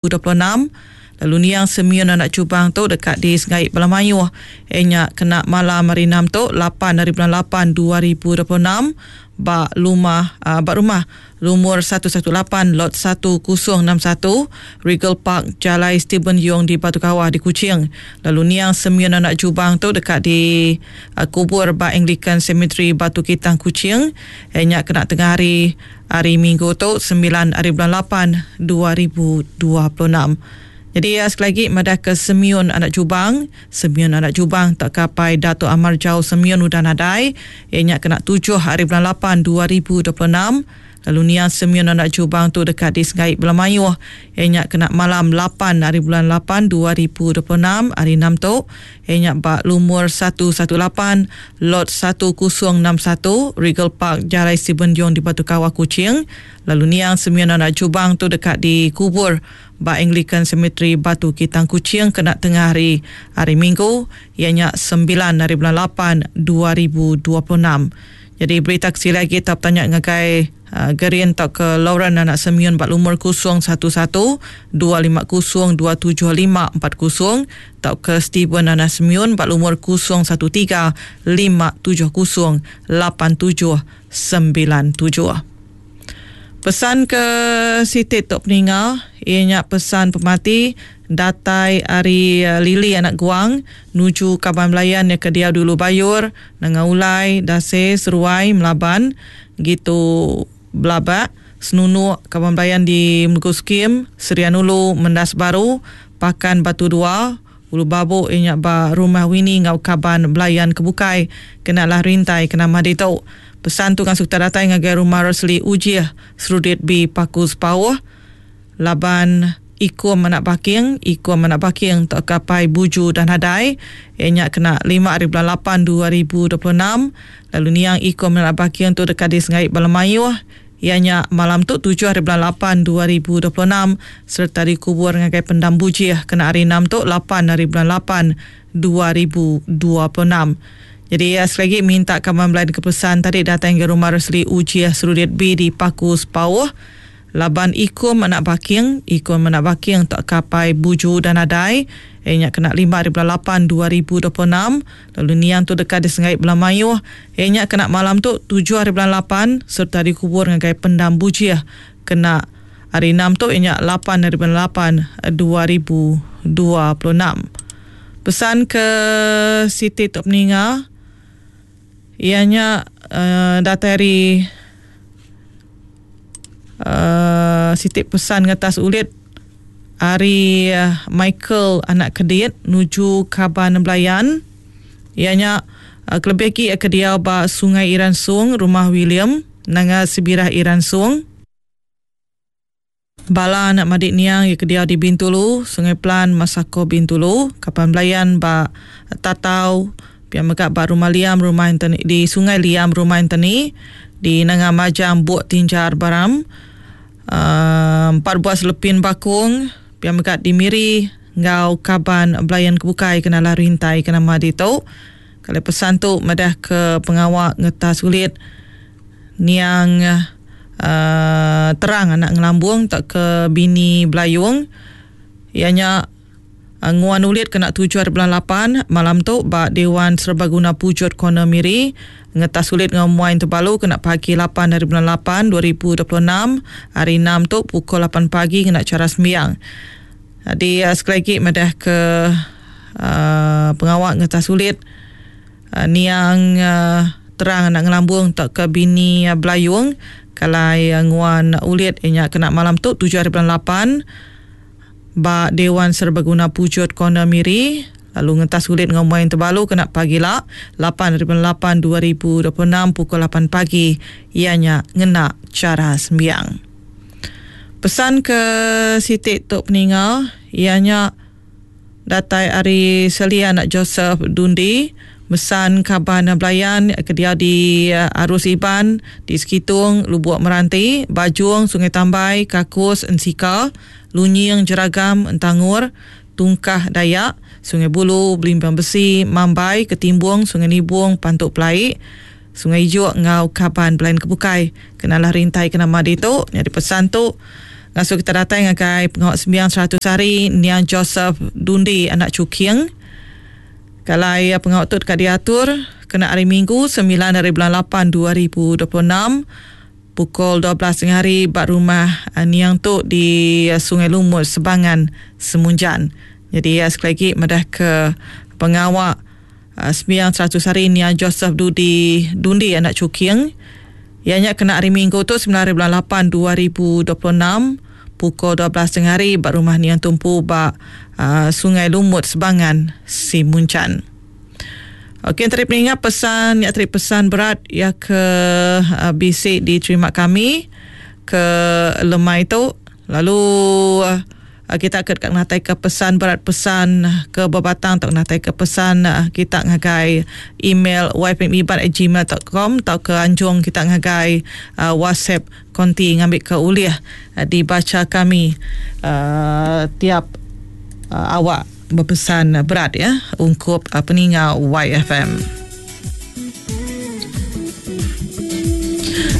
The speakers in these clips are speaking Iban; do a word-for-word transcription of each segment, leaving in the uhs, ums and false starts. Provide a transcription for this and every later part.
dua puluh enam. Lalu niang Semion anak Cubang tu dekat di Sengai Bala Mayuh. Ianya kena malam hari enam tu lapan hari bulan lapan dua ribu dua puluh enam ba rumah, uh, ba rumah lumur satu satu lapan lot satu kosong enam satu Regal Park Jalai Stephen Yong di Batu Kawah di Kuching. Lalu niang Semion anak Jubang tu dekat di, uh, kubur ba Anglican Cemetery Batu Kitang Kuching. Ianya kena tengah hari hari Minggu tu sembilan hari bulan lapan dua ribu dua puluh enam. Jadi ya, sekali lagi madah ke Semion anak Jubang, Semion anak Jubang tak kapai Dato' Amar Jauh Semion udah nadai, ianya kena tujuh hari bulan lapan dua ribu dua puluh enam. Lalu niang Semion anak Jubang tu dekat di Sengai Belamayuh, ianya kena malam lapan hari bulan lapan dua ribu dua puluh enam hari enam tu, ianya ba lumur satu satu lapan lot satu kosong enam satu Regal Park Jalai Stephen Yong di Batu Kawah Kuching. Lalu niang Semion anak Jubang tu dekat di kubur ba Anglican Cemetery Batu Kitang Kuching kena tengah hari hari Minggu, ianya sembilan hari bulan lapan dua ribu dua puluh enam. Jadi berita kecil lagi tak tanya ngagai, uh, Gerin atau ke Lauren anak Semion bak lumur kosong satu satu dua lima kosong dua tujuh lima empat kosong atau ke Steven anak Semion bak lumur kosong satu tiga lima tujuh kosong lapan tujuh sembilan tujuh. Pesan ke Siti Tok Peninga, ianya pesan pemati datai ari, uh, Lili anak Guang nuju kaban belayan yang ke dia dulu Bayur, Nanga Ulai, Dase, Seruai, Melaban, gitu Belabak, Senunuk, kaban belayan di Melugu Skim, Serian Ulu, Mendas Baru, Pakan Batu Dua, Ulu Babuk ianya ba Rumah Wini ngau kaban belayan kebukai, kenalah rintai kena madi tu. Pesan tu kan sukta datai ngagai Rumah Rosli Ujih Serudit B Paku Sepauh, Laban Ikum anak Baking, Ikum anak Baking tak kapai Buju dan Hadai, ianya kena lima hari bulan lapan dua ribu dua puluh enam. Lalu niang Ikum anak Baking tu dekat di Sengai Balamayuh, ianya malam tu tujuh hari bulan lapan dua ribu dua puluh enam serta dikubur ngagai Pendam Bujih kena hari enam tu lapan hari bulan lapan dua ribu dua puluh enam. Jadi ya, sekali lagi minta kawan belayan kepesan tadi datang ke Rumah Rosli Ujih Serudit B di Paku Sepauh, Laban Ikum anak Baking, Ikum anak Baking tak kapai Buju dan Adai, ianya kena lima hari bulan lapan dua ribu dua puluh enam. Lalu niang tu dekat di Sengai Belamayuh, ianya kena malam tu tujuh hari bulan lapan serta dikubur ngagai Pendam Bujih kena hari enam tu ianya lapan hari bulan lapan dua ribu dua puluh enam. Pesan ke Siti Tok Peninga, ianya, uh, datang dari, uh, Siti pesan ngetas ulit hari, uh, Michael anak Kedit nuju Kaban Belayan. Ianya, uh, kelebih lagi ke dia ba Sungai Iran Sung, Rumah William, Nanga Sibirah Iran Sung. Bala anak Madik Niang ya ke dia di Bintulu, Sungai Pelan, Masako Bintulu, Kaban Belayan ba Tatau, pihak megak ba Rumah Liam, Rumah Anthony, di Sungai Liam, Rumah Anthony, di Nanga Majang, Buk Tinjar Baram, uh, empat buah selepin bakung, pihak megak di Miri, ngau Kaban Belayan Kebukai kena lah rintai kena madi tu. Kalau pesan tu madah ke pengawak ngetas sulit niang, uh, terang anak ngelambung tak ke bini Belayung, ianya nguan ulit kena tujuh hari bulan lapan malam tu ba Dewan Serbaguna Pujut Corner Miri. Ngetas sulit ngau muain Tebalu kena pagi lapan hari bulan lapan dua ribu dua puluh enam hari enam tu pukul lapan pagi kena cara sembiang. Jadi, uh, sekali lagi madah ke, uh, pengawak ngetas sulit, uh, niang, uh, terang anak ngelambung tak ke bini, uh, Belayung kalai, uh, nguan ulit ianya kena malam tu tujuh hari bulan lapan ba Dewan Serbaguna Pujut Corner Miri. Lalu ngentas sulit ngau main Tebalu kena pagi lah lapan hari bulan lapan dua ribu dua puluh enam pukul lapan pagi ianya ngena cara sembiang. Pesan ke Siti Tok Peninga ianya datai ari Selia anak Joseph Dundi, mesan Kaban Belayan ke dia di, uh, Arus Iban di Sekitung, Lubuk Meranti, Bajung, Sungai Tambai, Kakus, Ensika, Lunying, Jeragam, Entangur, Tungkah Dayak, Sungai Bulu, Belimbang Besi, Mambai, Ketimbung, Sungai Nibung, Pantuk Pelaik, Sungai Ijuk, Ngau Kaban Belayan Kebukai. Kenalah rintai kena madi tu. Jadi pesan tu Ngasuh kita datai ngagai pengawak sembiang seratus hari Niang Joseph Dundi anak Cuking. Kalau ya pengawak tu dekat diatur kena hari Minggu sembilan hari bulan lapan dua ribu dua puluh enam pukul dua belas tengah hari bak rumah Niang tu di Sungai Lumut Sebangan Semunjan. Jadi ya, sekali lagi madah ke pengawak sembiang seratus hari Niang Joseph Dudi Dundi anak Cuking. Ianya kena hari Minggu tu sembilan hari bulan lapan dua ribu dua puluh enam pukul dua belas tengah hari bak rumah Niang Tumpu bak uh, Sungai Lumut Sebangan Simunjan. Okey, tadi pengingat pesan ya tadi pesan berat ya ke uh, bisik diterima kami ke lemai tu. Lalu uh, kita ke dekat ngatai ke pesan berat pesan ke berbatang atau ngatai ke pesan kita ngagai email y f m iban at gmail dot com atau ke anjung kita ngagai uh, WhatsApp konti ngambil ke uliah uh, dibaca kami uh, tiap uh, awak berpesan berat ya ungkup uh, peninga Y F M.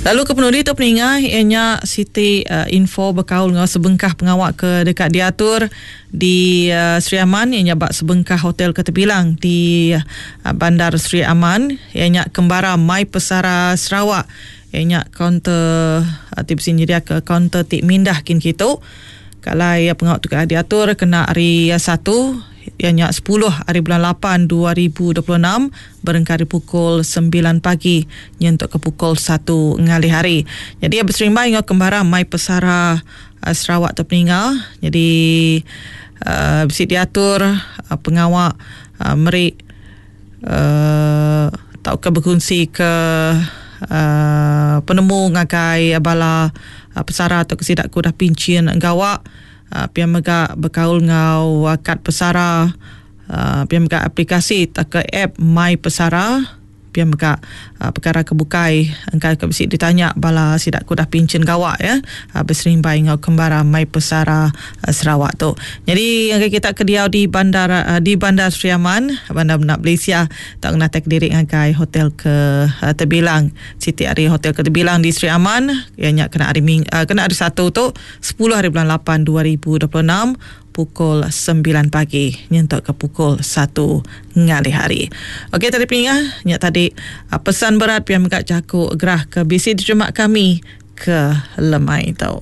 Lalu ke penuli tu peninga ianya Siti uh, info berkaul dengan sebengkah pengawak ke dekat diatur di uh, Sri Aman ianya bak sebengkah hotel keterbilang di uh, Bandar Sri Aman ianya Kembara Mai Pesara Sarawak ianya kaunter uh, tips dia ke kaunter tik mindah kin kitu. Kalau ya pengawak tu diatur kena hari satu ianya sepuluh hari bulan lapan dua ribu dua puluh enam berengkari pukul sembilan pagi nyentuk ke pukul satu ngalih hari. Jadi berserimbai dengan Kembara Mai Pesara uh, Sarawak terpeninggal. Jadi uh, bisi diatur uh, pengawak uh, merik uh, tau ke berkongsi ke uh, penemu ngagai bala uh, pesara atau kesidak kudah pincin gawak. Uh, pihak mega berkaul ngau uh, kad pesara, uh, pihak mega aplikasi tak ke app My Pesara, pihak mega uh, perkara kebukai engkau ke bisi ditanya bala sidak kudah pincin gawak ya, uh, berserimbai ngau Kembara My Pesara uh, Sarawak tu. Jadi yang kita kediau di bandar uh, di Bandar Sri Aman, Bandar Benak Malaysia, tak kena tek diri ngagai hotel ke uh, terbilang Siti Ari Hotel ke terbilang di Sri Aman, ianya kena hari Ming, uh, kena hari Satu tu sepuluh hari bulan lapan dua ribu dua puluh enam pukul sembilan pagi nyentuk ke pukul satu ngalih hari. Okey, tadi peningah nyak tadi pesan berat pian megak jaku gerah ke bisi diterima kami ke lemai tu.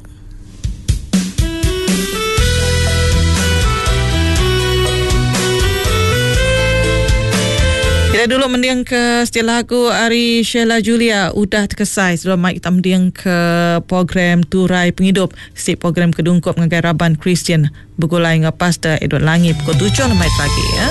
Kita dulu mendiang ke setelah lagu Ari Sheila Julia udah terkesai sebelum mic kita mendiang ke program Turai Penghidup si program kedungkup ngagai Raban Kristian bergulai dengan Pastor Edward Langi pukul tujuh lemai pagi ya.